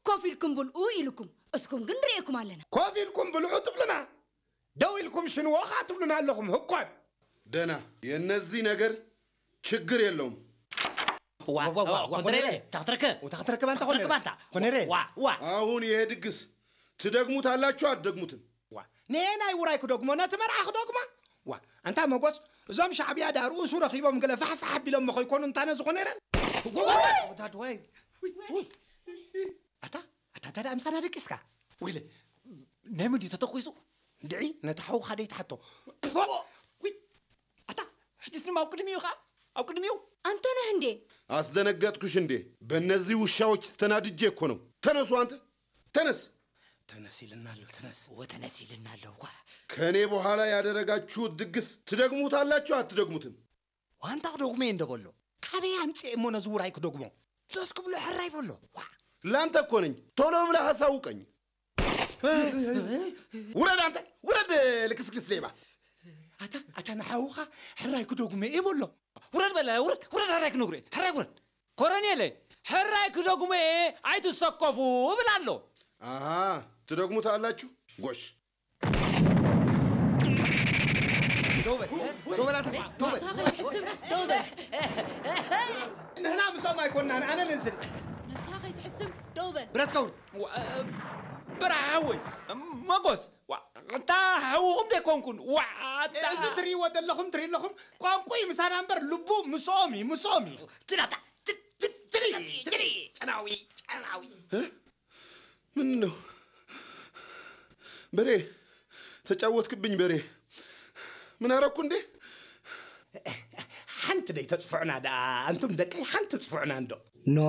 ኮፍ ኢልኩም ብልኡ ኢልኩም፣ እስኩም ግን ንርእየኩም ኣለና። ኮፍ ኢልኩም ብልዑ ትብሉና፣ ደው ኢልኩም ሽንዎ ኸዓ ትብሉና ኣለኹም። ህኮን ደና የነዚ ነገር ችግር የለውም። ዋ ዋ ዋ ዋ ኮነሬ። ኮነሬ። ታክትረከ ታክትረከ ባንታ ኮነሬ። ታክትረከ ባንታ። ኮነሬ። ዋ ዋ አሁን ይሄ ድግስ ትደግሙታላችሁ አትደግሙትም? ዋ ነሄ ናይ ውራይ ክደግሞ ነቲ መርዓ ክደግሞ። ዋ ኣንታ መጎስ፣ እዞም ሻዕብያ ዳ ርእሱ ረኺቦም ገለ ፋሕፋሕ ኣቢሎም መኸይኮኑ እንታነ ዝኾነ ይረን። ወዳድ ወይ። ኣታ ኣታ እንታይ ደኣ ምሳና ደቂስካ? ወይለ ናይ መን ድዩ ተተኩሱ? እንድዒ ነቲ ሓውኻ ደይትሓቶ። ፎእ! ውይ! ኣታ ሕጅስ ድማ ኣብ ቅድሚኡ ኸዓ ኣብ ቅድሚኡ ኣንተነህ እንዴ? አስደነገጥኩሽ እንዴ? በእነዚህ ውሻዎች ተናድጄ እኮ ነው። ተነሱ አንተ ተነስ። ተነስ ይልና ኣሎ ተነስ። ወተነስ ይልና ኣሎ ዋ። ከኔ በኋላ ያደረጋችሁት ድግስ ትደግሙታላችሁ አትደግሙትም? ዋንታ ክደግሞ እየ እንደበሎ ካበይ ኣምፅኤ እሞ ነዚ ውራይ ክደግሞ? ዞስ ክብሎ ሕራይ በሎ። ዋ ላንተ እኮ ነኝ። ቶሎ ብለህ አሳውቀኝ። ውረድ አንተ ውረድ። ልክስክስ ሌባ። ኣታ ኣታ ንሓውኻ ሕራይ ክደግሞ እየ በሎ። ውረድ በለ ውረድ ውረድ። ሕራይ ክነግሮ እየ። ሕራይ ውረድ። ኮረኔለ ሕራይ ክደግሞ እየ። ኣይትሰከፉ እብል ኣሎ። ኣሃ ትደግሙት ኣላችሁ። ጎሽ ደውበል ደውበል ኣታ ደውበል ንስኻ ከይትሕስም ደው በል። ንሕና ምሶም ኣይኮንናን ኣነ ልንስን ነብስኻ ከይትሕስም ደው በል። ብረትካ ውርድ ብርሃ ሓወይ መጎስ ዋ፣ እንታ ሓውኹም ደይኮንኩን ዋ፣ ኣታ- እዚ ትርእይዎ ዘለኹም ትርኢ ኣለኹም ቋንቋ እዩ ምሳና እምበር ልቡ ምስኦም እዩ ምስኦም እዩ ጭላታ ጭ- ጭ- ጭሊ ጭሊ ጨናዊ ጨናዊ ምን ነው በሬ? ተጫወትክብኝ በሬ። ምን አረኩ እንዴ? ሓንቲ ደይ ተፅፍዑና ደኣ ኣንቱም ደቀይ ሓንቲ ፅፍዑና እንዶ ኖ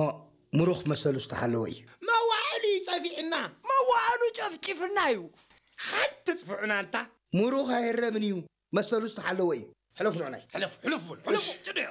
ምሩኽ መሰሉ ዝተሓለወ እዩ። መዋዕሉ እዩ ፀፊዕና መዋዕሉ ጨፍጭፍና እዩ ሓንቲ ፅፍዑና እንታ ምሩኽ ኣይረምን እዩ መሰሉ ዝተሓለወ እዩ። ሕለፍ ንዕናይ ሕለፍ ሕለፍ በሉ ሕለፍ ጭድዮ